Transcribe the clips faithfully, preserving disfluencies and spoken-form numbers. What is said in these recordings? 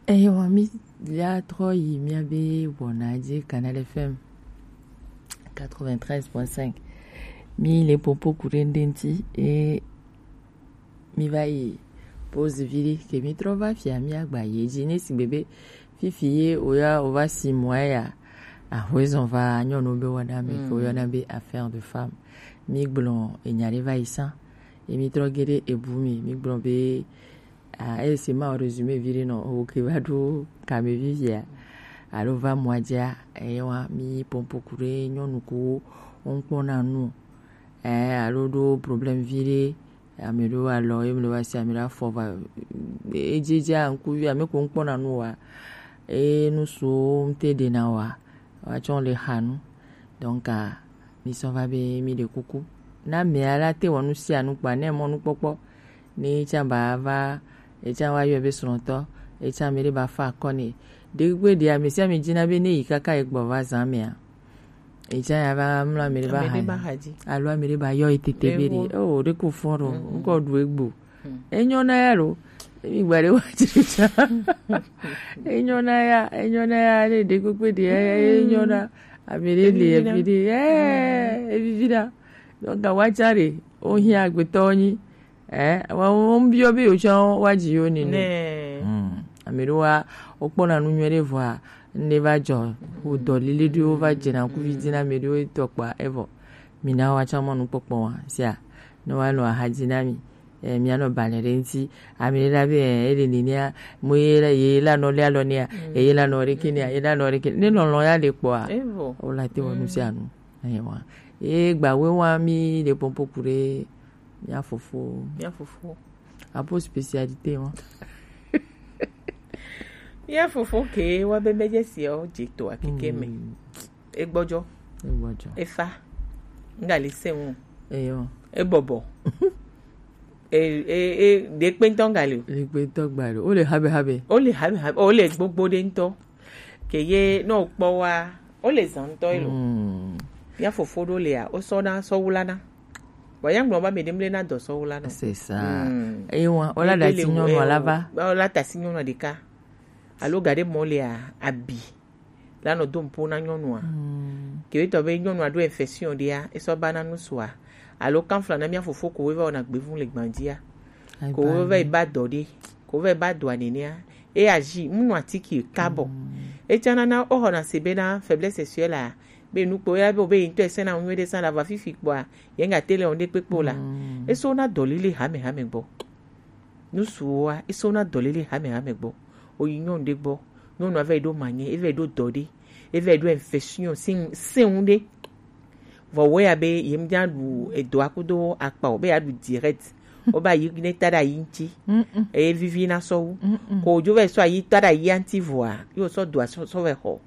Ewa, mi la trɔ yi mía be wɔna dzi Canal F M quatre-vingt-treize point cinq. Mi le popo ku ɖe ŋɖe ŋuti e mi va yi pause vi ɖe ke mi trɔ va fia mi agba ye dzi ne sigbe be fifi ye o ya o va si mɔ ya ahwezɔn va nyɔnu be wɔna me ke o yɔna be affaire de femme. Mi gblɔ enya ɖe va yi sã. Ye mi trɔ ge ɖe ebu mi, mi gblɔ be Ah, ese ma o resume vi ɖe nɔ o ke va ɖo kame vivia alo va mɔa dzia, eye wa mi pompo ku ɖe nyɔnu ko ŋkpɔna nu, eh, alo ɖo problème vi ɖe, ame ɖo alɔ ye mle va si ame ɖo afɔ va edzedzia ŋkuvi ame ko ŋkpɔna nu wa, e nu so ŋte ɖena wa, wa tsɔ le xa nu. Donc, ah, mi sɔ va be mi ɖe kuku. Na mea la te wɔ nu sia nu kpa ne mɔ nukpɔkpɔ. Ne etsa ba va, etsa wa yɔ be srɔ̃tɔ, etsa mi ɖe ba fa akɔ ne. Ɖe kpekpe ɖe ame sia ame dzina be ne yi kaka egbɔ va zã mea. Etsa ya va mlɔ ame ɖe ba Ame ɖe ba xa xa dzi. Alo ame ɖe ba yɔ etete be ɖe. Ewo. Oh, ɖe ko fɔ ɖo. Mhm. Ŋkɔ ɖu egbo. Enyɔna ya lo. Mi gba ɖe wa tsi tsa. Enyɔna ya, enyɔna ya ɖe ɖe kpekpe ɖe ya, enyɔna. Ame ɖe le Evivi na. evi ɖe, eh, evivi na. Donc, wa tsa ɖe, o hiã agbetɔ nyi. Eh, wa, wo biɔ be o tsa wa dzi yo ni nu. Nɛ. Hmm. Ame ɖe wa, o kpɔna nu nyuie ɖe vɔa, ne va dzɔ, o dɔ lili ɖe o va dze na kuvi dzi na ame ɖe o tɔ kpa, evɔ. Mi na wa tsa mɔ nukpɔkpɔ wa, sia. Ne wa nɔ axa dzi na mi. Eh, mía nɔ balɛ ɖe ŋuti. Ame ɖe la be, eh, ele nenia, mo ye la, ye la nɔ le alɔ nea, ye la nɔ ɖe ke nea, ye la nɔ ɖe ke. Ne lɔlɔ ya le kpɔa, Evo. o la te wɔ nu sia nu. Ewa. E gba we wa mi le pompo ku ɖe mía fofo. Mía fofo. Apo spécialité wa. Mía fofo ke wa be be dze si o dze to akeke me. Mm. Egbɔdzɔ. Egbɔdzɔ. Efa. Ŋga le se ŋu. Eyo. Ebɔbɔ. E, e, e, ɖe kpe ŋutɔ ŋga le o. Ɖe kpe ŋutɔ gba le o. O le habe habe. O le habe habe. O le gbogbo ɖe ŋutɔ. Ke ye, ne o kpɔ wa, o le zã ŋutɔ elo. Mm. Mía fofo ɖo lea, o sɔ na sɔ wula na. Wa ya ŋgblɔ ba me ɖe mle na dɔ sɔ wula na. C'est ça. Mm. Eyi wa, o la Ebe da le si nyɔnu o, la va. O la ta si nyɔnu ɖeka. Alo ga ɖe mɔ lea, abi. La nɔ do ŋpo na nyɔnua. Mm. Ke be tɔ be nyɔnua ɖo infection ɖea, esɔ ba na nusua. Alo kanfla na mía fofo ko weva wɔna gbevu le gbandzia. Ko weva yi ba dɔ ɖe, ko weva yi ba dɔa nenea. E aji, mu nu atiki kabɔ. Mm. Etsana na o xɔna se be na faiblesse sexuelle a, be nukpo ya be o be yi ŋutɔ ese na nyuie ɖe sa la va fifi kpɔa, ye ŋga te le o ɖe kpekpe o la. Mm. Eso na dɔ lile hame hame gbɔ. Nusuwoa, eso na dɔ lele hame hame gbɔ. O yi nyɔnu ɖe gbɔ, nyɔnua va yi ɖo manye, e va yi ɖo dɔ ɖe, e va yi ɖo infection sin, sin ɖe. Vɔ wo ya be ye ŋdza ɖu edɔa kudo akpa o, be ya ɖu direct. O ba yi ne ta ɖe ayi ŋuti. Mm-mm. Eye vivi na sɔ wu. Mm-mm. Ko dzo va yi sɔ ayi ta ɖe ayi ŋuti vɔa, yo sɔ dɔa sɔ, sɔ va yi xɔ.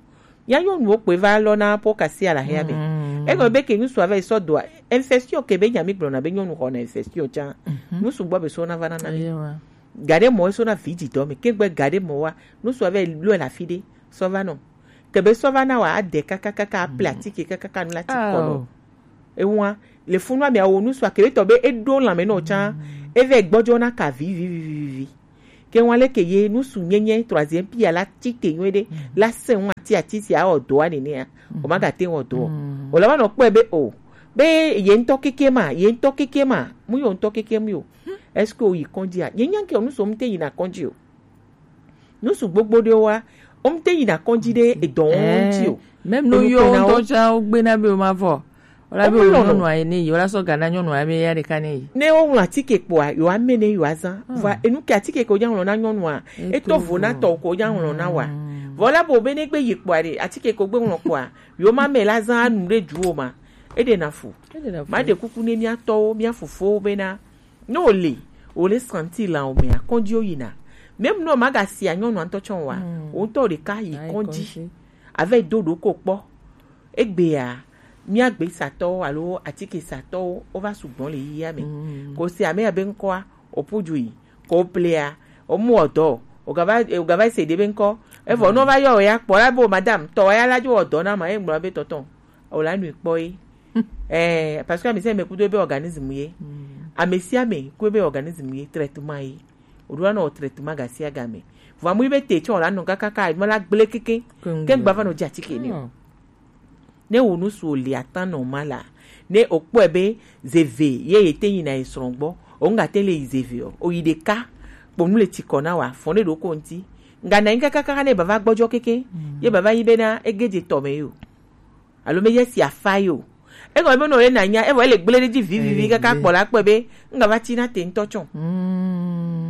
Mía nyɔnuwo kpoe va lɔna po kasi ala hea me. Mm. Egɔme be ke ŋusu ava yi sɔ doa, infection ke be nya mi gblɔna be nyɔnu xɔna infection tsã. Mhm. Ŋusu gbɔ be sɔ na va na na mi. Eyewa. Ga ɖe mɔ sɔ na vi dzi dɔ me. Ke gbe ga ɖe mɔ wa, ŋusu ava yi lɔe le afi ɖe, sɔ va nɔ. Ke be sɔ va na wa, ade kakakaka, aplatike kakaka nu la ti kɔ nɔ. Ao. Ewa, le funu ame awo ŋusu akebe tɔ be eɖo lãme nɔ tsã, mm, eve gbɔdzɔ na ka vi, vi, vi, vi, vi, vi. Ke ŋua leke ye nusu nyenye troisième pierre la ti te nyuie ɖe, mm, la se ŋu ati ati si awɔ dɔa nenea, mm, o ma gate wɔ dɔ. Mm. O la va nɔ kpɔe be o, be ye ŋutɔ keke ma, ye ŋutɔ keke ma, mu yo ŋutɔ keke mu yo. Est-ce que o yi kɔdzi a? Ye nya ke o nusu mu te yi na kɔdzi o. Nusu gbogbo ɖewoa, wo ŋute yina kɔdzi ɖe edɔ wo ŋuti o. Même no yo ŋutɔ tsã wo gbe na be wo ma vɔ. Wo la be wo nyɔnua ye ne yi, wo la sɔ ga na nyɔnua be ya ɖeka ne yi. Ne wo ŋlɔ atike kpɔa, yo ame ne yo azã. Vɔ enu ke atike ko dza ŋlɔ na nyɔnua, eto vo na tɔ ko dza ŋlɔ na wa. Vɔ la bo be ne gbe yi kpɔa ɖe, atike ko gbe ŋlɔ kpɔa, yo ma me la zã anu ɖe du o ma. Eɖe na fu. Ma ɖe kuku ne mía tɔwo, mía fofowo bena, ne wòle, wòle santi la o mea, kɔdzi woyina. Même ne womagasia nyɔnua ŋutɔ tsɔ oa, wò ŋutɔ ɖeka yi kɔdzi. Ava yi do ɖoko kpɔ. Egbea, mía gbesatɔwo alo atikesatɔwo, wova sugbɔ le yiyia me. Ko se ame ya be ŋkɔa, oƒu dzoe, ko oplea, omu wɔ dɔ, ogava, ogava se ɖe be ŋkɔ. Evɔ ne wova yɔ wò ya kpɔ la be, madame, tɔ wa ya la dzo wɔ dɔ na ma, ye ŋgblɔ be tɔtɔ. O la nui kpɔ ye. Eh, parce que ame sia ame kudo ebe organisme ye. Ame sia ame ku ebe organisme ye, traitement ye. O ɖo anɔ traitement gasiagame. Vɔ amu yi be te tsɔ la nɔ kakaka ma la gble keke. Ke gba va nɔ dzi atike ni o. Ne wo nusu o li atan nɔ ma la. Ne o kpɔe be zeve ye ye te yi na yi srɔ̃ gbɔ. O nga te le yi zeve o. O yi ɖeka. Kponu le tsikɔ na wa. Fɔ ne ɖo ko ŋti. Nga na yi kakaka ne bava gbɔdzɔ keke. Ye bava yi be na ege dze tɔ me yo. Alo me ye si afa yo. Ego be no ye na nya. Evo ele gble ɖe dzi vivivi kaka kpɔ la kpɔe be. Nga va tsi na te ŋtɔ tsɔ.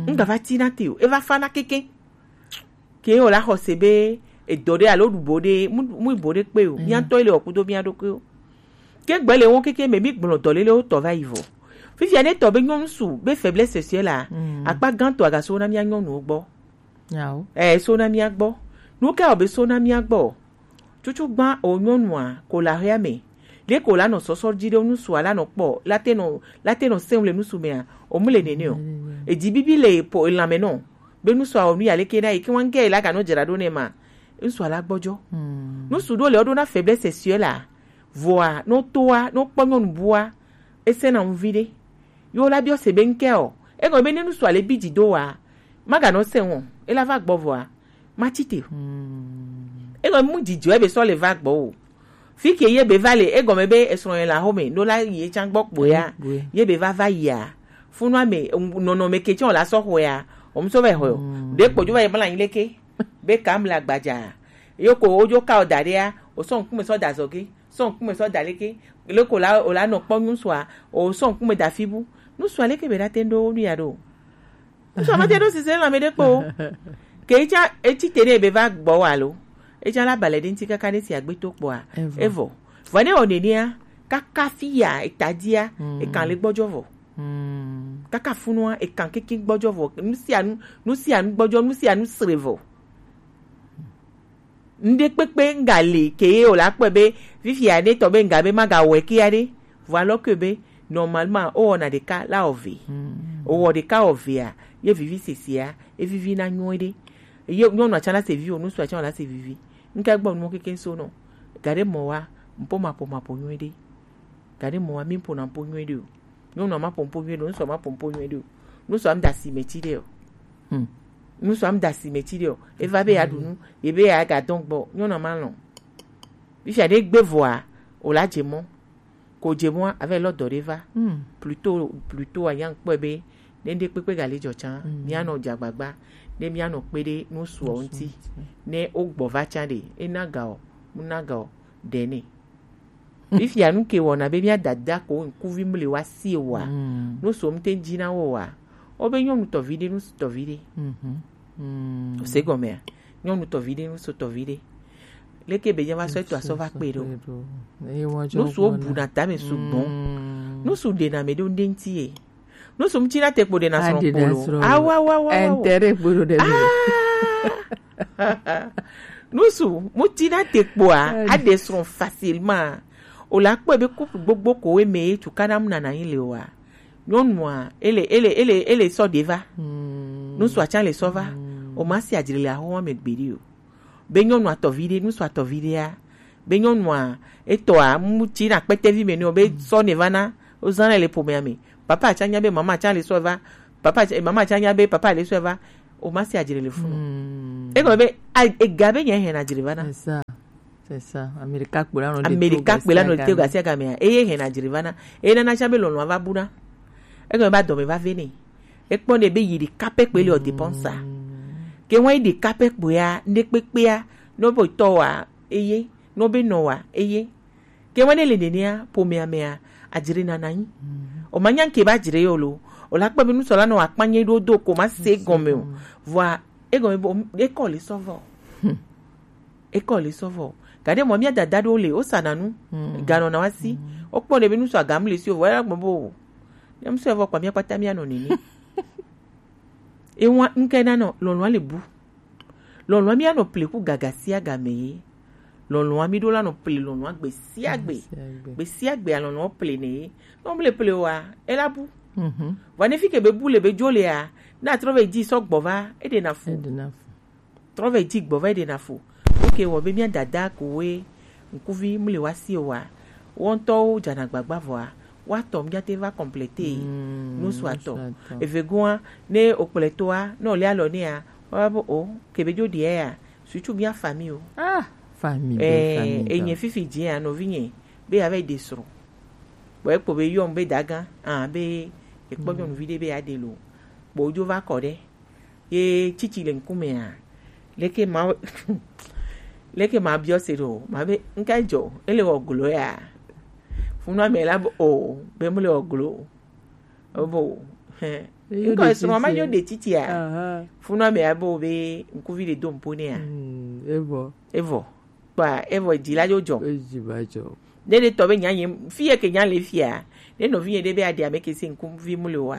Nga va tsi na te o. Eva fa na keke. Ke o la xɔse be edɔ ɖe alo ɖubo ɖe mu mu bo ɖe kpe o. Mía tɔ le okudo mía ɖokui o. Ke gbe le wo keke me mi gblɔ dɔ lele wo tɔ va yi vɔ. Fifia ne tɔ be nyɔnu su be faiblesse sexuelle la. Akpa gãtɔ agaso na mía nyɔnuwo gbɔ. Yawo. Eh, so na mía gbɔ. Nu ka o be so na mía gbɔ? Tutu gbã o nyɔnua ko la hea me. Le ko la nɔ sɔsɔ dzi ɖe nusu ala nɔ kpɔ la te nɔ la te nɔ sɛn le nusu mea. O mu le nene o. Edzi bibi le po elan me nɔ. Be nusu a o nu ya leke na yi ke wan ke la ka nɔ dzra ɖo ne ma. Nusu ala gbɔdzɔ. Nusu ɖo le o ɖo na faiblesse sexuelle la. Vɔa no toa no kpɔ nyɔnu bua. Ese na ŋvi ɖe. Yo la biɔ se be ŋkɛ o. Egɔme be ne nusu ale bi dzi do wa. Maganɔ sɛn o. Ela va gbɔ vɔa. Matsi te o. Egɔme mu dzidzɔ ebe sɔ le va gbɔ o. Fi ke ye be va le egɔme be esrɔ̃ ye la home no la ye tsa gbɔ kpo ya. Ye be va va yia. Funua me nɔnɔme ke tsɔ la sɔ xɔ ya. O mu sɔ va xɔ. De kpo jo va ye mla yin leke. Be kam la gbadza. Yo ko ojo ka o da ɖea. O sɔ ŋkume sɔ da zɔge. Sɔ ŋkume sɔ da leke. Le ko la o la nɔ kpɔ nusua. O sɔ ŋkume da fibu. Nusua leke be da te ndo nu ya ɖo. Ŋutsu ma te ɖo sise lãme ɖe kpo. Ke etsa etsi te ɖe ebe va gbɔ wa lo. Etsa la balɛ ɖe ŋuti kaka ne si agbe to kpɔa. Evɔ. Evɔ. Vɔ ne wɔ nenea kaka fi ya eta dzia ekan le gbɔdzɔ vɔ. Kaka funua ekan keke gbɔdzɔ vɔ. Nu sia nu nu sia nu gbɔdzɔ nu sia nu sre vɔ. Ŋɖe kpekpe ŋga li ke ye o la kpɔe be fifia ne tɔ be ŋga be maga wɔe kia ɖe. Vɔ alɔ ke be normalement o wɔna ɖeka la ɔve. O wɔ ɖeka ɔvea ye vivi sesia e vivi na nyuie ɖe. Ye nyɔnua tsã la se vivi o ŋutsua tsã la se vivi. Ŋke gbɔ nuwo keke so nɔ. Ga ɖe mɔ wa ŋpo ma ƒo ma ƒo nyuie ɖe. Ga ɖe mɔ wa mi ƒo na ƒo nyuie ɖe o. Nyɔnua ma ƒo ŋpo nyuie ɖe o, ŋutsua ma ƒo ŋpo nyuie ɖe o. Ŋutsua ŋda si me tsi ɖe o. Ŋutsua ŋda si me tsi ɖe o. Eva be ya ɖu nu, ye be ya ga dɔn gbɔ, nyɔnua ma lɔn. Fifia ɖe gbe vɔa, o la dze mɔ. Ko dze mɔa, ave lɔ dɔ ɖe va. Plutôt, plutôt a nya kpɔe be ne ɖe kpekpe ga le dzɔ tsã, mía nɔ dze agbagba, ne mía nɔ kpe ɖe ŋutsua ŋuti, ne o gbɔ va tsã ɖe, e na ga o, mu na ga o, ɖe ne. Fifia nu ke wɔna be mía dada ko ŋkuvi mle wa si wa. Nu so mte dzi na wo wa. O be nyɔnu tɔvi ɖe nu tɔvi ɖe. O se gɔmea. Nyɔnu tɔvi ɖe nu so tɔvi ɖe. Leke be nyama sɔ eto asɔ va kpe ɖo. Nu so bu na tame sugbɔn. Nu so ɖe na me ɖo ŋde ŋti ye. Nusu mu tina te kpo ɖe na srɔ̃ kpolo. Awa wa wa wa. Intérêt kpo ɖo ɖe. Nusu mu tina te kpoa aɖe srɔ̃ facilement. O la kpɔe be couple gbogbo ko we me tu kana mu nana yin le wa. Nyɔnua ele ele ele ele sɔ ɖe va. Nusu atsa le sɔ va. O ma si adzre le ahoma me gbeɖi o. Be nyɔnua tɔvi ɖe, nusu atɔvi ɖea, be nyɔnua etɔa mu tsi na kpɛtɛvi me nɔ be sɔ ne va na o zan le ƒomea me. Papa atsa nya be mama atsa le sɔ va. Papa atsa, mama atsa nya be papa le sɔ va. O ma si adzre le funu. Egɔme be ega be nye hɛn adzre va na. C'est ça. C'est ça. Amerika kpe la nɔ de Amerika kpe la nɔ de gasi agamea. Eye hɛn adzre va na. Eye nana atsa be lɔlɔ va bu na. Egɔme ba dɔme va ve ne. Ekpɔ ne be yi ɖeka pɛ kpe le o dépense. Ke ŋwa yi ɖeka pɛ kpoea ne kpekpea no be tɔ wa eye no be nɔ wa eye. Ke ŋwa ne le nenea ƒomea mea adzre nana nyi. O ma nya ke ba dzre yo lo. O la kpɔ be nusɔla nɔ akpa nye ɖo do ko ma se gɔme o. Vɔa egɔme bo ekɔ le sɔ vɔ. Ekɔ le sɔ vɔ. Gade mɔ mia dada ɖo le o sana nu. Ganɔ na wa si. O kpɔ ne be nusɔ agam le si o vɔ ya gbɔ bo. Ne mu sɔ vɔ kpa mia kpata mia nɔ nene. Ewa ŋke na nɔ lɔlɔa le bu. Lɔlɔa mi anɔ ple ku gaga sia game ye. Lɔlɔa mi ɖo la nɔ ple lɔlɔa gbe sia gbe. Gbe sia gbe a lɔlɔa ple ne ye. Nɔ ble ple wa e la bu. Vɔ ne fi ke be bu le be dzo le a na trɔ ve dzi sɔ gbɔ va e ɖe na fu. Trɔ ve dzi gbɔ va e ɖe na fu. Oke wɔ be mia dada ko we ŋkuvi mu le wa si o wa. Wɔntɔwo dzana gbagba vɔa. Wa tɔ mía te va compléter. Mm, nusu atɔ. Nusu atɔ. Eve goa, ne o kplɔe toa, ne o le alɔ nea, wa bo o, ke be jo diɛ ya. Surtout mía famille o. Ah, famille, eh, famille, enye fifi dzi ya, nɔvi nye, be ya va yi ɖe srɔ̃. Bon, ekpɔ be yɔm be daga, ah, be ekpɔ nyɔnuvi ɖe be ya ɖe lo. Bon, jo va kɔ ɖe. Ye tsitsi le ŋkumea, leke ma, leke ma biɔ se ɖo, ma be, ŋka dzɔ, ele wɔ glo ya. Funua me la bo, o, be mu le wɔ glo. O bo, hɛ. Ŋkɔ esrɔ̃ ma yo de tsitsia. Aha. Funua me abo be ŋkuvi le do mpo nea. Mm, evɔ. Evɔ. Kpa evɔ dzi la yo dzɔ. Edzi va dzɔ. Ne ɖe tɔ be nya nye fi ye ke nya le fia. Ne nɔvi ye ɖe be aɖe ame ke si ŋkuvi mu le wa.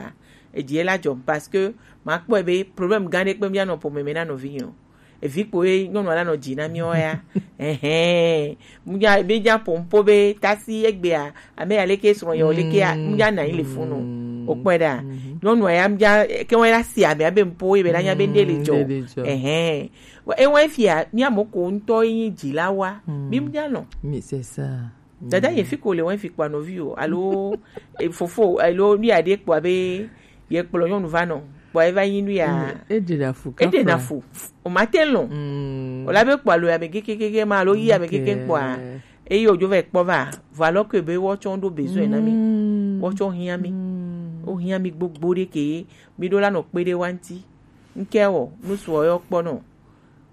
Edzi la dzɔ parce que ma kpɔe be problème gã ɖe kpe mía nɔ ƒome me na nɔvi nye o. Evi kpo ye nyɔnu la nɔ dzi na míawo ya. Ɛhɛn. Mía be nya ƒo ŋpo be tasi egbea, ame ya leke srɔ̃ yɔ leke ya, mía na yi le funu. O kpɔe ɖa. Nyɔnu ya mía ke wɔn la si ame abe ŋpo ye be la nya be nde le dzɔ. Nde le dzɔ. Ɛhɛn. Wa- Ewa efia mía mo ko ŋutɔ yi dzi la wa. Mi mía nɔ. Mi c'est ça. Dada ye fi ko le wɔn fi kpa nɔvi o alo e, fofo alo nu ya ɖe kpɔ abe ye kplɔ nyɔnu va nɔ kpɔ eva yi nu ya. Mm, eɖe na fu. Eɖe na fu. O ma te lɔn. Mm. O la be kpɔ alo ya be kekekeke ma alo yi ya be keke kpɔa. Ok. Eye o jo va kpɔ va. Vɔ alors que be wɔ tsɔ ɖo besoin na mi. Mm. Wɔ tsɔ hiã mi. Mm. O hiã mi gbogbo ɖe ke mi ɖo la nɔ kpe ɖe wa ŋti. Ŋkɛ wɔ nusu yɔ kpɔ nɔ.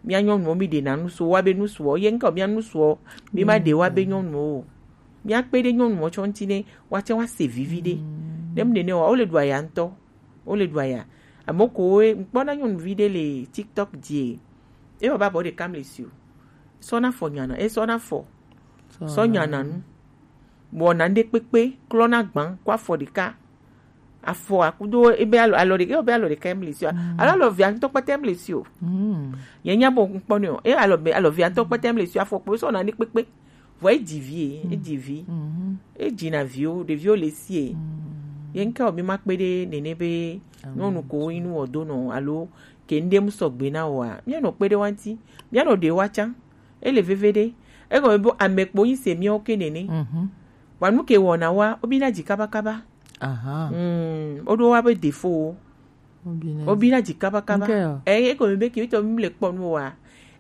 Mía nyɔnuwo mi ɖe na nusu wa be nusu ye ŋkɔ mía nusu mi ma ɖe wa be nyɔnuwo o. Mía kpe ɖe nyɔnuwo tsɔ ŋti ne wa tsɛ wa se vivi ɖe. Ne mu nene wa o le ɖu aya ŋutɔ. O le ɖu aya. Ame ko wo ŋkpɔ na nyɔnuvi ɖe le TikTok dzi. E wa ba bɔ ɖe kam le si o. Sɔ na fɔ nyana, e sɔ na fɔ. Sɔ nyana nu. Wɔna ŋɖe kpekpe klɔna gbã kɔ afɔ ɖeka. Afɔ akudo ebe alɔ alɔ ɖeka ebe alɔ ɖeka emle si o. Alo alɔ via ŋutɔ kpɛtɛ emle si o. Ye nya bo ŋkpɔ ne o. E alɔ be alɔ via ŋutɔ kpɛtɛ emle si o afɔ kpo sɔ na ŋɖe kpekpe. Vɔ e dzi vi e, e dzi vi. E dzi na viwo, ɖeviwo le si e. Ye ŋkɛ o mi ma kpe ɖe nene be nyɔnu ko inu wɔ do nɔ alo ke ŋɖe mu sɔgbe na o a. Mía nɔ kpe ɖe wa ŋti. Mía nɔ ɖe wa tsã. Ele veve ɖe. Egɔme be ame kpo yi se míawo ke nene. Wa nu ke wɔna wa, o bi na dzi kaba kaba. Aha. Mm, o ɖo wa be defo. O bi na dzi kaba kaba. Ŋkɛ o. Eh, egɔme be ke tɔ mi le kpɔ nu wa.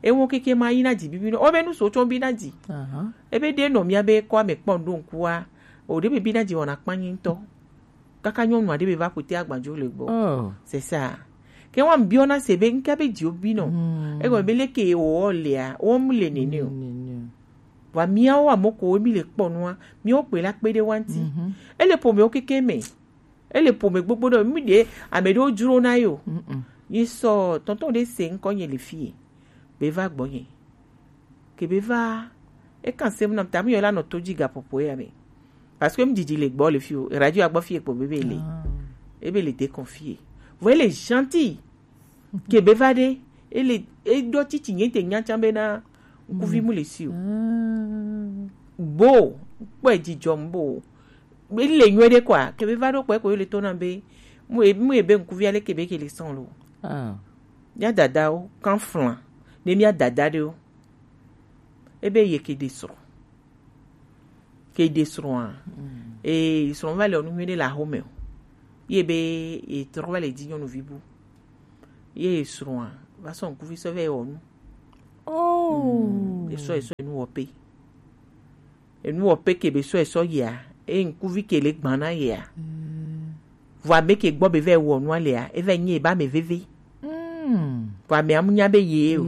E wo keke ma yi na dzi bibi no. O be nu so tsɔ bi na dzi. Aha. E be ɖe nɔ mía be kɔ ame kpɔ nu ɖo ŋkua. O ɖe be bi na dzi wɔna kpanyi ŋutɔ. Kaka nyɔnu aɖe be va ƒote agbadzo le gbɔ. Oh. C'est ça. Ke wa biɔ na se be ŋke be dziwo bi nɔ. Egɔme be leke wo lea, wo mu le nene o. Wa míawo ame ko mi le kpɔ nua, míawo kpe la kpe ɖe wa ŋti. Ele ƒomewo keke me. Ele ƒome gbogbo ɖe mi ɖe ame ɖewo dzro na yo. Yi sɔ tɔntɔn ɖe se ŋkɔ nye le fie. Be va gbɔ nye. Ke be va, e kan sem nam ta mi yɔ la nɔ to dzi gaƒoƒo ya me. Parce que m didi le gbɔ le fi o, radio agbɔ fi ekpo bebe le. Ebe le déconfié. Vɔ ele gentil. Ke be va ɖe, ele e ɖɔ titi nye te nya tsã be na ŋkuvi mu le si o. Bo, kpɔ dzidzɔ m bo. Ele nyuie ɖe kɔa, ke be va ɖo kpɔ ko le to na be mu e mu e be ŋkuvi ale ke be ke le sɔn lo. Ah. Mía dadawo kan flan ne mía dada ɖewo. Ebe ye ke ɖe srɔ̃. Ke ɖe srɔ̃a. Ee, srɔ̃ va le ɔnu nyuie ɖe le axome o. Ye be ye trɔ va le dzi nyɔnuvi bu. Ye srɔ̃a va sɔ ŋkuvi sɔ va ye wɔ nu. Oh. Esɔ esɔ enu wɔ pe. Enu wɔ pe ke be sɔ esɔ yia. E ŋkuvi ke le gbana yia. Vɔ ame ke gbɔ be va wɔ nua lea, e va nyi eba me veve. Vɔ ame amu nya be ye o.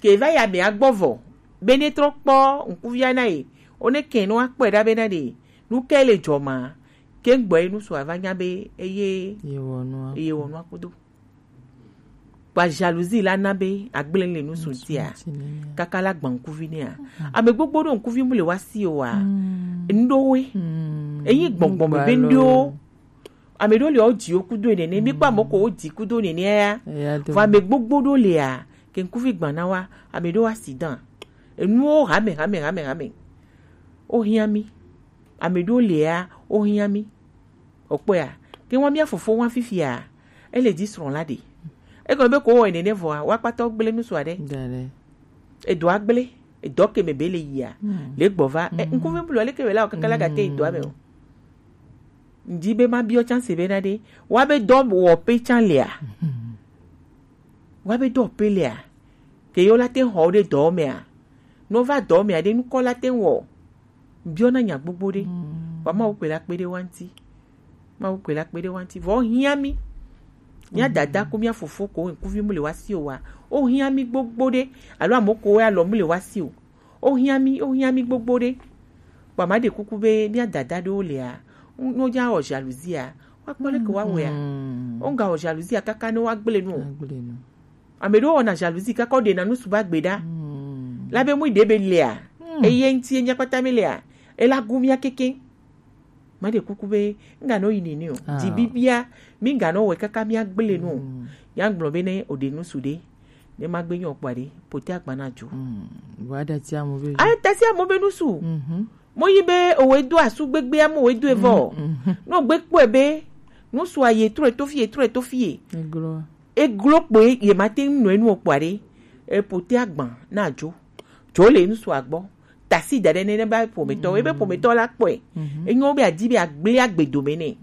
Ke va ya me agbɔ vɔ. Be ne trɔ kpɔ ŋkuvia na ye. O ne ke no akpɔ da be na de. Nu ke le dzɔ ma. Ke gbɔ enu so ava nya be eye. Ye wɔ nua. Ye wɔ nua kudo. Kpa jalousie la na be agble le nu suntia. Kaka la gba ŋkuvi nea. Ame gbogbo ɖo ŋkuvi mu le wa si o wa. Ŋɖo we. Eyi gbɔngbɔn me be ŋɖo. Ame ɖewo le wo dziwo kudo nene, mi kpɔ ame ko wo dzi kudo nene ya. Vɔ ame gbogbo ɖo lea, ke ŋkuvi gbana wa, ame ɖewo accident. Enuwo hame, hame, hame, hame. O hiã mi. Ame ɖewo lea, o hiã mi. O kpɔe ya. Ke wa mia fofo wa fifia, ele dzi srɔ̃ la ɖe. Egɔme be ko wɔ nene vɔa, wa kpata gble nu sua ɖe. Edo agble, edo ke me be le yia. Le gbɔ va, e, ŋkuvi blu le ke be la o kaka la gate edo ame o. Ŋdi be ma biɔ chance be na ɖe. Wa be dɔ wɔ pe chan lea. Wa be dɔ pe lea. Ke yo la te xɔ ɖe dɔ mea. No va dɔ mea ɖe nukɔ la te wɔ. Biɔ na nya gbogbo ɖe. Wa ma wo kpe la kpe ɖe wa ŋti. Ma wo kpe la kpe ɖe wa ŋti. Vɔ hiã mi. Mia dada ko mia fofo ko ŋkuvi mu le wa si o wa. O hiã mi gbogbo ɖe. Alo amo ko ya lɔ mu le wa si o. O hiã mi, o hiã mi gbogbo ɖe. Kpa ma ɖe kuku be mia dada ɖewo lea, no ja wɔ jalousie a, wa kpɔ leke wa wea. O ŋga wɔ jalousie a kaka ne wa gble nu o. Ame ɖewo wɔna jalousie kaka wo ɖe na nu suba gbe ɖa. La be mu ɖe be lea, eye ŋti enya kpata me lea, ela gu mia keke. Ma ɖe kuku be ŋga nɔ yi nene o. Dzi bibia, mi ŋga nɔ wɛ kaka mia gble nu o. Ya gblɔ be ne o ɖe nu su ɖe. Ne ma gbe nyɔ kpɔ ɖe, pote agba na jo. Wa da ti amo be. A ta si amo be nu su. Mo yi be o we do asu gbegbe amo we do evɔ. No gbe kpɔ be nu su a ye trɔ to fie, trɔ to fie. Eglo kpɔ ye ma te nu enu kpɔ ɖe. E pote agba na jo. Jo le nu su agbɔ. Tasi da ɖe nene ba ƒometɔ, ebe ƒometɔ la kpɔe. Enyo be adi be agble agbe dome ne.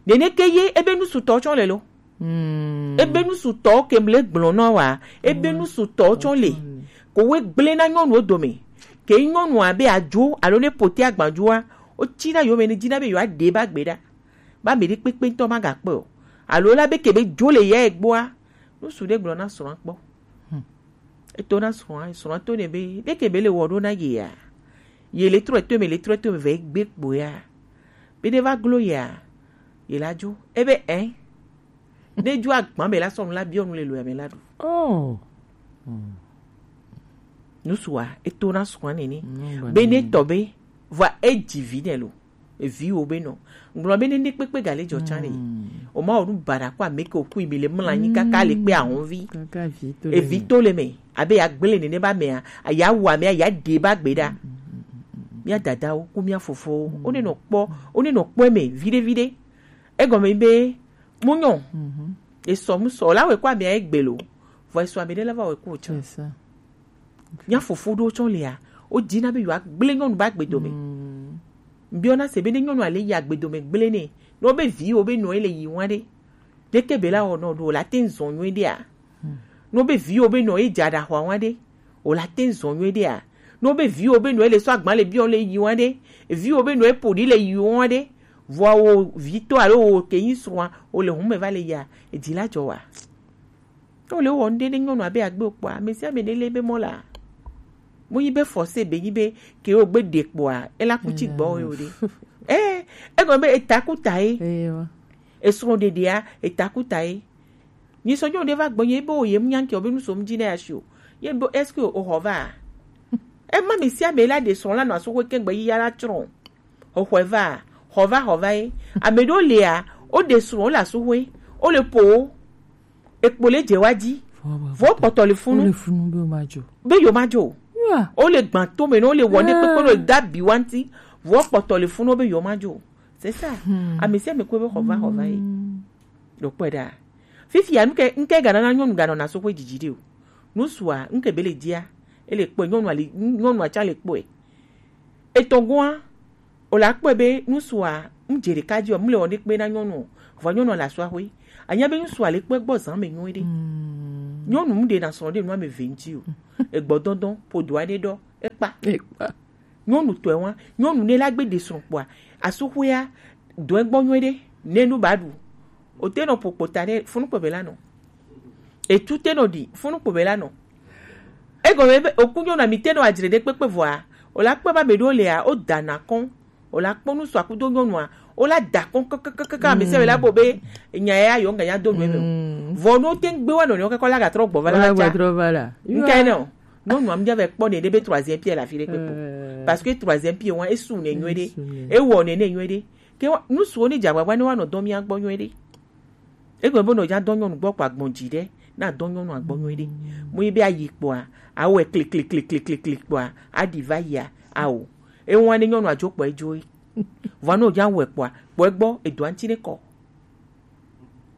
Nene ke ye ebe nu su tɔ tsɔ le lo. Ebe nu su tɔ ke mle gblɔ nɔ wa. Ebe nu su tɔ tsɔ le. Ko we gble na nyɔnu dome. Ke nyɔnu abe adzo alo ne pote agbadzo a. O tsi na yo me ne dzi na be yo ade ba gbe ɖa. Ba me ɖe kpekpe ŋtɔ ma ga kpɔ. Alo la be ke be dzo le ya egbɔa. Nu su ɖe gblɔ na srɔ̃a kpɔ. Eto na srɔ̃a, srɔ̃a to ne be ɖeke be le wɔ ɖo na ye ya. Ye le trɔ to me, le trɔ to me vɛ gbe kpo ya. Be ɖe va glo ya. Ye la dzo. Ebe ɛ. Ne dzo agba me la sɔnu la biɔ nu le lo ya me la ɖu. Oh. Nu sua eto na srɔ̃a nene. Be ne tɔ be va edzi vi ne lo. Eviwo be nɔ. Gblɔ be nene kpekpe ga le dzɔ tsan ne. O ma o nu bara ko ame ke o kui mi le mla nyi kaka le kpe ahun vi. Evi to le me. Abe ya gble nene ba mea. Aya wa mea ya de ba gbe ɖa. Mia dadawo ku mia fofowo. O ne nɔ kpɔ, o ne nɔ kpɔ me vide vide. Egɔme be mu nyɔ. Esɔ mu sɔ la we ko ame ya egbe lo. Vɔ esɔ ame ɖe la va we ko tsan. Mia fofo ɖewo tsɔ lea, wodina be yewoagblẽ nyɔnu be agbedome. Biɔna se be ne nyɔnua le yi agbedome gblẽ nɛ, ne wobe viwo be nɔ ye le yi wa ɖe, ɖeke be la wɔ nɔ ɖo, wòle ate ŋu zɔ nyuie ɖea? Ne wobe viwo be nɔ ye dze aɖaxɔa wa ɖe, wòle ate ŋu zɔ nyuie ɖea? Ne wobe viwo be nɔ ye le sɔ agba le biɔ le yi wa ɖe, viwo be nɔ ye ƒo ɖi le yi wa ɖe, vɔa wo vitɔ alo wo ke nyi srɔ̃a, wòle hume va le yia, edzi la dzɔ wa? Ne wòle wɔ nu ɖe ne nyɔnu abe agbe wòkpɔa, ame sia ame ne lé be mɔ la. Mu yi be force be yi be ke wo gbe ɖe kpɔa, ela ku tsi gbɔ wo ɖe. Eh, egɔme be eta ku ta ye. Esrɔ̃ ɖeɖea, eta ku ta ye. Nyi sɔ nyɔnu ɖe va gbɔ ye be wo ye mu nya nke o be nu so mu dzi ne ya shi o. Ye be est-ce que o xɔ va? Ema ame sia ame la ɖe srɔ̃ la nɔ aso ko kengbe yi ya la tsrɔ̃. Xɔxɔe va, xɔ va, xɔ va ye. Ame ɖewo lia, woɖe srɔ̃, wole asuxoe, wole ƒo wo. Ekpo le dze wa dzi. Vɔ kpɔtɔ le funu. Wole funu be womadzo. Be yewomadzo. Wole gbã tome, ne wole wɔ ne kpekpe, wole da bi wa ŋuti. Vɔ kpɔtɔ le funu be yewomadzo. C'est ça. Ame sia ame kpɔe be xɔ va, xɔ va ye. Ɖo kpɔe ɖa. Fifia, nuke, nuke ganana nyɔnu ganɔna so ƒe dzidzi ɖe o. Nusua, nuke be le dzia, ele kpɔe, nyɔnua le, nyɔnua tsã le kpɔe. Etɔ̃gɔa, o la kpɔe be nusua, nu dze ɖeka dzi o, mu le wɔ ne kpe na nyɔnu o. Vɔ nyɔnua le asua ƒe. Anya be nusua le kpɔe gbɔ zã me nyuie ɖe. Nyɔnu mu ɖe na srɔ̃ ɖe nua me ve ŋuti o. Egbɔ dɔndɔn, ƒodo aɖe ɖɔ, ekpa. Nyɔnu tɔe wa, nyɔnu ne la gbe ɖe srɔ̃ kpɔa, asuxuea dɔe gbɔ nyuie ɖe, ne nu ba ɖu. O te nɔ ƒo kpota ɖe, funu kpɔ be la nɔ. Etu te nɔ ɖi, funu kpɔ be la nɔ. Egɔme be, oku nyɔnu ami te nɔ adzre ɖe kpekpe vɔa, o la kpɔ ba me ɖo lea, o da na kɔn, o la kpɔ nu sɔ akudo nyɔnua, o la da kɔn kakakaka, ame sia ame la bo be, nya ya yɔ ŋga nya do nu eme o. Vɔ no te ŋgbe wa nɔ ne o kakɔ la ga trɔ gbɔ va la. Ŋka ne o. Nyɔnua mu dza va kpɔ ne ɖe be troisième pied le afi ɖe kpekpe o. Parce que troisième pied wa esu ne nyuie ɖe. Ewɔ ne ne nyuie ɖe. Ke wa, nu suwo ne dze agbagba ne woanɔ dɔ mía gbɔ nyuie ɖe. Egbe be nɔ dza dɔ nyɔnu gbɔ kpɔ agbɔn dzi ɖe, na dɔ nyɔnu agbɔ nyuie ɖe. Mu yi be ayi kpɔa, awɔe klikliklikliklikli kpɔa, aɖi va yia, ao. Ewa ne nyɔnu adzo kpɔ edzo ye. Vɔ ne wòdza wɔe kpɔa, kpɔ egbɔ, edoa ŋuti ne kɔ.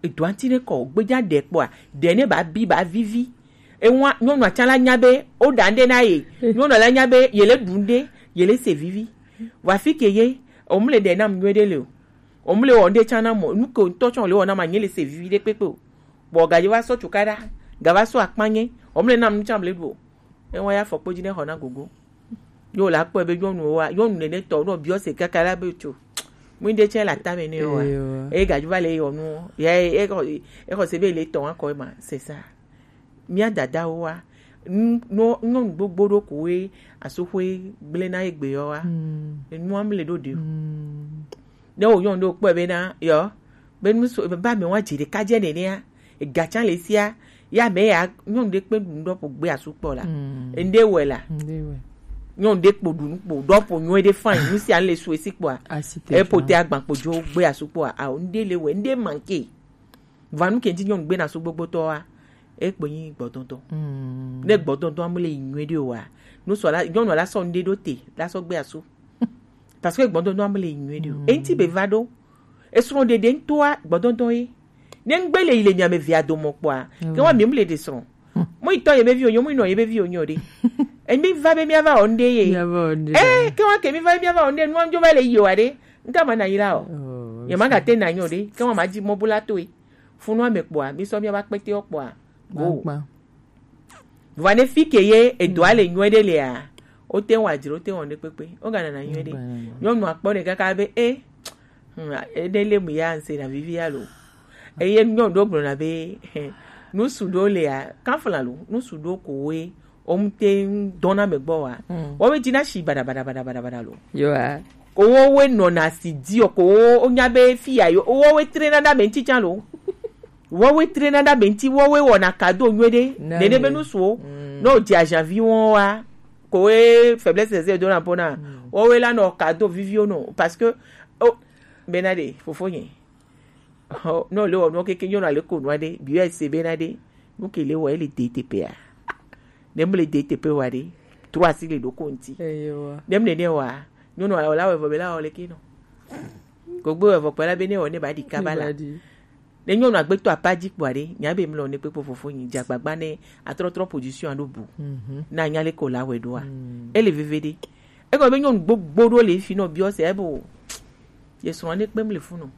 Edoa ŋuti ne kɔ, gbedza ɖe kpɔa, ɖe ne ba bi, ba vivi. Ewa, nyɔnua tsã la nya be, woɖa ŋɖe na ye. Nyɔnua la nya be, ye le ɖu ŋɖe, ye le se vivi. Vɔ afi ke ye, o mu le ɖe nam nyuie ɖe le o. Omle wɔ nde tsã na mɔ, nu ke ŋutɔ tsã le wɔ na ma nye le se vivi ɖe kpekpe o. Bɔ gadzo va sɔ cukaɖa, ga va sɔ akpanye, omle nam nu tsã mle ɖu o. Ewa ya fɔ kpodzi ne xɔ na gogo. Yo la kpɔ be nyɔnu wa, nyɔnu nene tɔ, no biɔ se kaka la be tso. Mu inde tsɛ la tame ne wa. Eyo. E gadzo va le yɔ nu. Ya e, e xɔ, e xɔ se be le tɔ wa kɔ ma, c'est ça. Mía dadawo wa, nu, nu, nyɔnu gbogbo ɖo ko we asoxoe gblẽ na egbe yɔ wa. Mm. Enua mle ɖo ɖe o. Mm. Ne wo nyɔnu ɖo kpɔe be na, yɔ, be nu so, be ba me wa dzi ɖeka dze nenea, ega tsã le sia, ya me ya, nyɔnu ɖe kpe nu ɖɔ ƒo gbe asu kpɔ la. Mm. Ende wɛ la. Ende wɛ. Nyɔnu ɖe kpo ɖu nu kpo, ɖɔ ƒo nyɔe ɖe fan, nu sia le su esi kpɔa. Asi te e ƒo te agban kpo dzo gbe asu kpɔa, a, ende le wɛ, ende manke. Vanu ke ŋti nyɔnu gbe na su gbogbotɔ wa, e kpo nyi gbɔdɔdɔ. Mm. Ne gbɔdɔdɔ amu le yi nyuie ɖe o wa, nu sɔ la, nyɔnu la sɔ ŋɖe ɖo te, la sɔ gbe asu. Parce que gbɔdɔdɔ amu le yi nyuie ɖe o. Mm. Eŋti be va ɖo. Esrɔ̃ ɖeɖe ŋutɔa gbɔdɔdɔ ye. Ne ŋgbe le yi le mia me vea domɔ kpɔa, mm, ke wa mi mu le ɖe srɔ̃. Mo yi tɔ ye be vi o nyo, mo yi nɔ ye be vi o nyo ɖe. Emi va be mia va o ŋɖe ye. Mia va o ŋɖe. Eh, ke wa ke mi va be mia va o ŋɖe, nua ŋdzo va le yi o wa ɖe. Ŋka ma na yi la o. Oh, ye ma ga te na nyo ɖe. Ke wa ma dzi mɔ bu la to ye. Funu ame kpɔa, mi sɔ mia va kpete o kpɔa. Go. Gbagba. Vɔa ne fi ke ye edoa le nyuie ɖe lea, o te wa dzro, o te wa ne kpekpe. O ga na na nyuie ɖe. Gbagba. Nyɔnu akpɔ ne kaka be, eh, hmm, ede le mu ya nse na vivi alo. Eye nyɔnu ɖo gblɔ na be, eh, nu su ɖo lea, kafla lo, nu su ɖo ko we, o mu te dɔna me gbɔ wa. Mm. Wo be dzi na shi bada, bada, bada, bada, bada lo. Yo a. Ko wo we nɔ na si di o, ko wo, o nya be fi ya yo, wo we tre na da me ŋti tsa lo. Woawoe trena ɖe ame ŋuti, woawoe wɔna cadeau nyuie ɖe. Nene be nusuwo. Mm. Ne wòdze aziavi wɔn wa, ko woe faiblesse zɛ dona ƒo na. Mm. Woawoe la nɔ cadeau viviwo nɔ. Parce que, oh, bena ɖe, fofonye. Oh, ne wòle wɔ nuwo keke nyɔnua le ko nua ɖe, bi yɔ ese bena ɖe, nu ke le wɔ, ele de teƒea. Ne mele de teƒe wa ɖe, trɔ asi le ɖoko ŋuti. Eyewa. Ne mele ne wa, nyɔnua la wɔ evɔ be la wɔ le ke nɔ. Kogbe wɔ evɔ kpɔ la be ne wɔ ne ba ɖi kaba la. Ne ba ɖi. Ne nyɔnu agbetɔ apa dzi kpɔa ɖe, nya be mlɔ ne kpekpe fofo nyi dze agbagba ne atrɔtrɔ position aɖo bu. Mhm. Na nya le ko la wɛ ɖoa. Mm. Ele veve ɖe. Egɔme be nyɔnu gbogbo ɖo le fi nɔ biɔ se ebo. Ye srɔ̃ ne kpem le funu.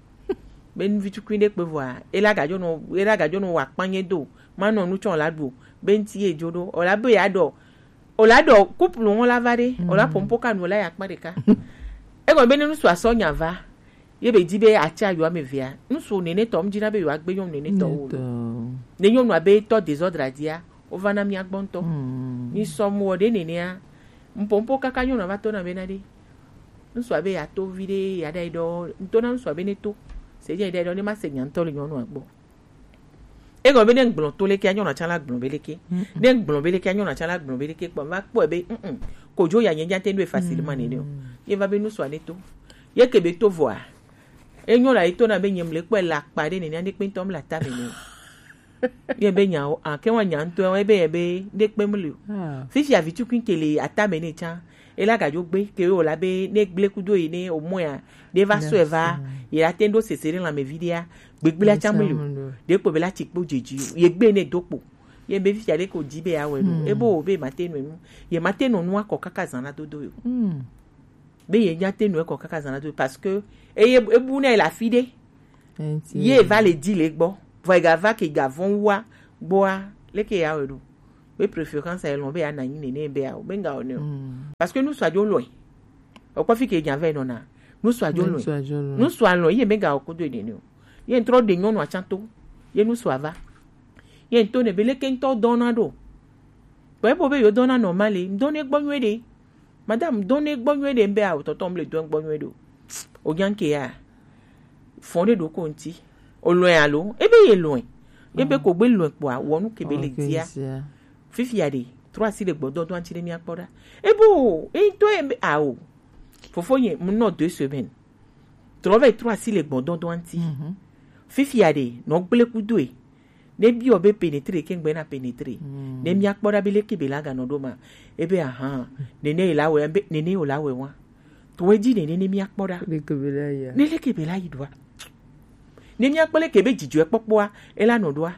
Be nu vitukui ɖe kpe vɔa, ela gadzɔ nɔ, ela gadzɔ nɔ wa kpanye do. Ma nɔ nu tsɔ la ɖu. Be ŋti ye dzo ɖo. O la be ya ɖɔ. O la ɖɔ couple ŋɔ la va ɖe. Mm. O la pompo ka nu la ya kpa ɖeka. Egɔme be ne nusu asɔ nya va. Ye be di be atsa yo ame vea. Nusu nene tɔ, mdzi na be yo agbe nyɔnu nene tɔ wo. Nene tɔ. Ne nyɔnu abe tɔ désordre adia, o va na mia gbɔ ŋutɔ. Mm. Mi sɔ mu wɔ ɖe nenea. Mpompo kaka nyɔnu va to na be na ɖe. Nusu abe ya to vi ɖe, ya ɖa yi ɖɔ, ŋutɔ na nusu abe ne to. Se dze ɖa yi ɖɔ ne ma se nya ŋutɔ le nyɔnua gbɔ. Egɔme be ne ŋgblɔ to leke, anyɔna tsã la gblɔ be leke. Mm-mm. Ne ŋgblɔ be leke, anyɔna tsã la gblɔ be leke. Kpɔ, va kpɔe be, mm-mm. Kodzo ya nye nya te nu facilement nene o. Mm. Ye va be nusua ne to. Ye ke be to vɔa. Enyɔna ye to na be nye mle kpɔe la kpa ɖe nene, ne kpe ŋutɔ mla ta me ne. Ye be nya o, a, ke wa nya ŋutɔ, ye be, ye be, ne kpe mle o. Ah. Fifi avi tukui ke le ata me ne tsã. Ela gadzo gbe, ke wo la be, ne gble kudo yi ne o moya, ɖe va sɔe va, ye la te ɖo sese ɖe lãme vi ɖea, gbegblea tsã mele o. Ɖe kpo be la tsi kpo dzedzi o. Ye gbe ne do kpo. Ye be fifia ɖe ko dzi be ya wɛ nu. Hmm. Ebo wo be ma te nɔ nu. Ye ma te nɔ nua kɔ kaka zã na dodo yo. Hmm. Be ye nya te nɔ kɔ kaka zã na dodo parce que eye ebu ne le afi ɖe. Ye va le di le gbɔ. Vɔ ega va ke ga vɔn wa gbɔa. Leke ya wɛ ɖo. Be préférence elɔn be ya na nyi nene be ya o. Be nga o ne o. Hmm. Parce que nusua dzo lɔe. Okpɔ fi ke nya vɛ nɔna. Nusua dzo lɔe. Nusua dzo lɔe. Nusua lɔe, ye mega o kodo ene ne o. Ye ŋtrɔ ɖe nyɔnua tsã to. Ye nusua va. Ye ŋtɔ ne be leke ŋtɔ dɔna ɖo. Kpɔ ebo be yo dɔna normal, ŋdɔ ne gbɔ nyuie ɖe. Madame, ŋdɔ ne gbɔ nyuie ɖe, mbe a o tɔtɔ mle dɔ gbɔ nyuie ɖe o. O nya ke ya. Fɔn ɖe ɖo ko ŋti. O lɔe alo? Ebe ye lɔe. Ebe ko gbe lɔe kpɔa, wɔ nu ke be le dia. Fifia ɖe, trɔ asi le gbɔdɔdɔ ŋti ɖe mia kpɔ ɖa. Ebo, e to e be, ao. Fofo nye, mu nɔ deux semaines. Trɔ va yi trɔ asi le gbɔdɔdɔ ŋti. Mhm. Fifia ɖe, nɔ gble kudoe. Ne biɔ be pénétrer ke ŋgbe na pénétrer. Mm. Ne mia kpɔ ɖa be leke be la ganɔ ɖo ma. Ebe ahan. Nene ye la wɛ, be, nene ye o la wɛ wa. To edzi nene ne mia kpɔ ɖa. Leke be la yi a? Ne leke be la yi ɖoa. Ne mia kpɔ leke be dzidzɔe kpɔkpɔa, e la nɔ ɖoa.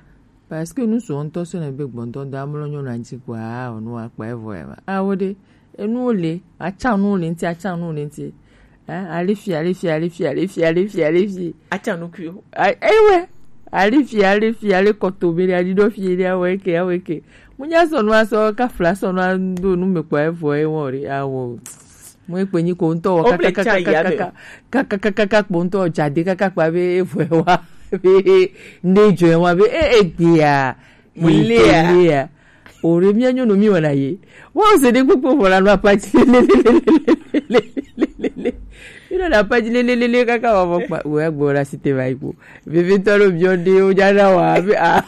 Parce que nu sɔ ŋutɔ sɔ ne be gbɔntɔ da mlɔ nyɔnu anti kua, o nu akpa evɔ ya ma. A wo ɖe, enuwo le, atsa nuwo le ŋti, atsa nuwo le ŋti. Eh, allez fi, allez fi, allez fi, allez fi, allez fi, allez fi. Acha nu kui o. Ah, eh ouais. Allez fi, allez fi, allez koto bele, allez do fi, allez, ah ouais, ke, ah ouais, ke. Munya so no aso, ka fla so no ando nu me kwa evo e won re, ah wo. Mu e pe nyi ko nto wa, ka, ka, ka, ka, ka, ka, ka, ka, ka, ka, kpo nto jade, ka, ka, kpa be evo e wa. Be, ne jo e wa be, eh, eh, gbe ya. Mo le a. Mo le a. O re mi anyo no mi wa na ye. Wa o se de gbogbo fo la no apati le, le, le, le, le, le, le, le, le. Mi no na apati le, le, le, le, kaka wa mo pa. Wo ya gbo la site ba ipo. Bebe to lo bi o de o ja na wa. Be, ah.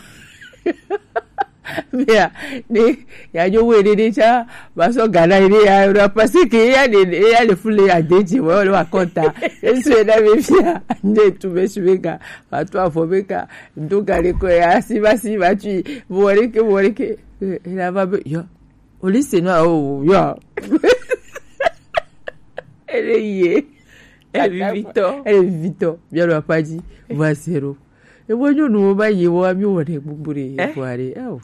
Be, ah. Ne, ya jo we de de cha. Ba so gana ide ya, o na pase ke ya de, ya le fule ya de je, wo le wa konta. Eso e na be fi a. Ne tu be su be ga. Ba tu a fo be ga. Ndo gale ko ya, si ba si ba tui. Boreke, boreke. Eh, ela va be, yo. Au lycée, no, oh, yo. Elle est yé. Elle est vivito. Elle est vivito. Bien, on l'a pas dit. Voix zéro. E wo nyɔnu wo ba ye wo ami wo ne gbugbu re. Eh? Ko are. Oh.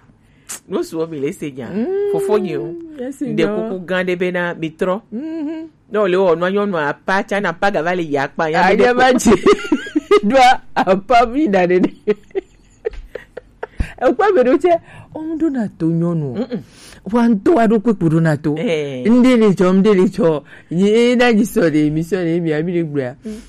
No su wo mi le se nya. Mm, fofo nyi o. Yes, nde no. Kuku gan de be na mi trɔ. Mhm. No le o no nyɔnu apa cha na pa ga va le ya kpa ya. Anya ma ji. Do apa mi da de. Ekpɔ be ɖo tsɛ, wo ŋɖo na to nyɔnu o. Mm-mm. Wa ŋutɔ wa ɖo kpekpe ɖo na to. Eh. Ŋɖe le tsɔ, ŋɖe le tsɔ. Yi na yi sɔ ɖe, mi sɔ ɖe, mi ami ɖe gblɔa. Mm.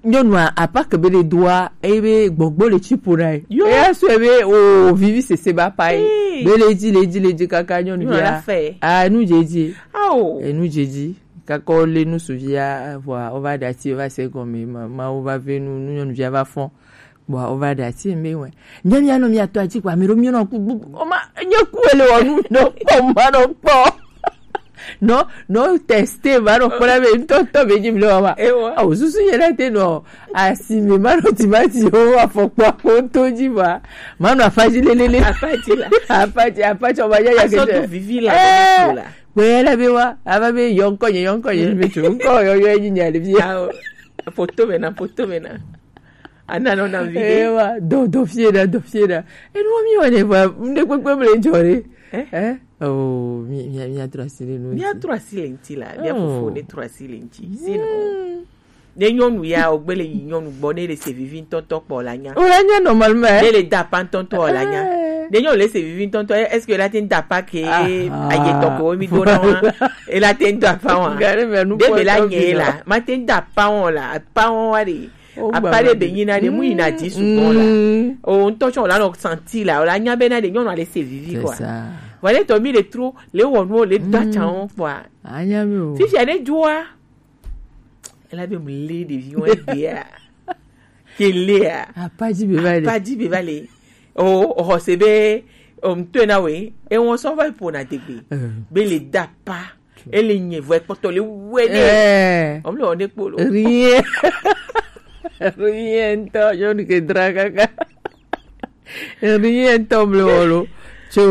Nyɔnua, apa ke be le doa, eye be gbɔgbɔ le tsi ƒo na ye. Yo. Eya sɔe be o vivi sese ba pa ye. Hey. Be le dzi, le dzi, le dzi kaka nyɔnuvia. Nyɔnua la fɛ. Ah, nu dze dzi. Ao. Enu dze dzi. Kaka wo le nu suvia, vɔa, wo va ɖe ati, wo va se gɔme, ma, ma wo va ve nu, nu nyɔnuvia va fɔn. Bon, o va ɖe ati mbe wɛ. Nye mia nɔ mia tɔ ati kpa mi ɖo mi nɔ ku bu. O ma nye ku ele wɔ nu nɔ kpɔ ma nɔ kpɔ. Nɔ nɔ teste ma nɔ kpɔ na be ŋutɔ ŋutɔ be dzi mi le wa ma. Ewa. Awo susu yɛ na te nɔ asi mi ma nɔ timati o afɔkpa ko to dzi ma. Ma nɔ afa dzi lelele. Afa dzi la. Afa dzi afa dzi o ma nya ya ke. Asɔ do vivi la. Eh, be ne ko la. Kpɛ la be wa ava be yɔ ŋkɔ nye yɔ ŋkɔ nye be tso ŋkɔ yɔ yɔ enyi nya ɖevi. Awo. Poto me na poto me na. Ana nɔ na vi ɖe. Ewa, dɔ, dɔ fie ɖa, dɔ fie ɖa. Enu mi wɔ ne va, ŋɖe kpekpe mle dzɔ ɖe. Eh? Eh? Oh, mi, mi, mi atrɔ asi le nu. Mi atrɔ asi le ŋti la, mi afofo ne trɔ asi le ŋti. Sino. Ne nyɔnu ya, o gbe le yi nyɔnu gbɔ, ne le se vivi ŋtɔŋtɔ kpɔ la nya. O la nya normalement, eh? Ne le da pa ŋtɔŋtɔ la nya. Eh. Ne nyɔnu le se vivi ŋtɔŋtɔ, est-ce que la te ŋ da pa ke aye tɔ ko mi do na wa? E la te ŋ da pa wa. Gare me nu. De be la nye la, ma te ŋ da pa wa la, pa wa de. Apa ɖe be nyina ɖe mu yina di sugbɔ la. Mm. O ŋutɔ tsɔ la nɔ santi la, o la nya be na ɖe nyɔnu ale se vivi quoi. Voilà to mi le tro, le wɔ nu le da tsan o quoi. Anya mi o. Fifia ne dua. Ela be mu le ɖevi wɔn dia. Ke le a. Apa dzi be va le. Apa dzi be va le. O o xɔ se be o ŋutɔ na we. E wɔn sɔ va po na degbe. Eh. Be le da pa. Ele nye vɔ ekpɔtɔ le wɛ ne. Eh. Ɔmle wɔ ne kpolo. Rien. Rien ŋutɔ, nyɔnu ke dra kaka. Rien ŋutɔ mle wɔ lo. Tso,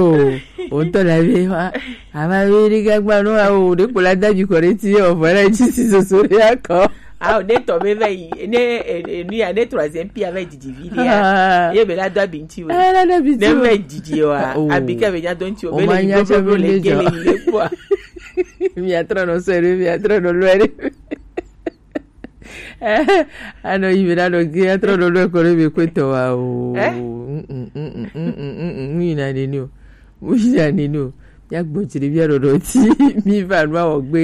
o ŋutɔ la be wa. Ama be ɖe gagba no awo, ɖe kpo la dabi kɔ ɖe ti, o vɔ la dzi si soso ɖe akɔ. Awo, ne tɔ be va yi, ne, e, e, nu ya, ne troisième pierre va yi didi vi ɖe ya. Ah. Ye be la do abi ŋti o. Ah, la do abi ŋti o. Ne va yi didi o, a, oh, abi ka be nya do ŋti o, o be ma le nya yi tsa be le gele yi le kpɔ. Miatrɔ nɔ sɔe ɖe, miatrɔ nɔ lɔe ɖe. Anɔ yi be na nɔ ge, atrɔ nɔ lɔe kɔ ɖe be kpetɔ wa o. Eh? Mm, mm, mm, mm, mm, mm, mm, mm, mu yina nene o. Mu yina nene o. Mia gbɔ dzi ɖe mia ɖɔɖɔ ti. Mi va nu awɔ gbe.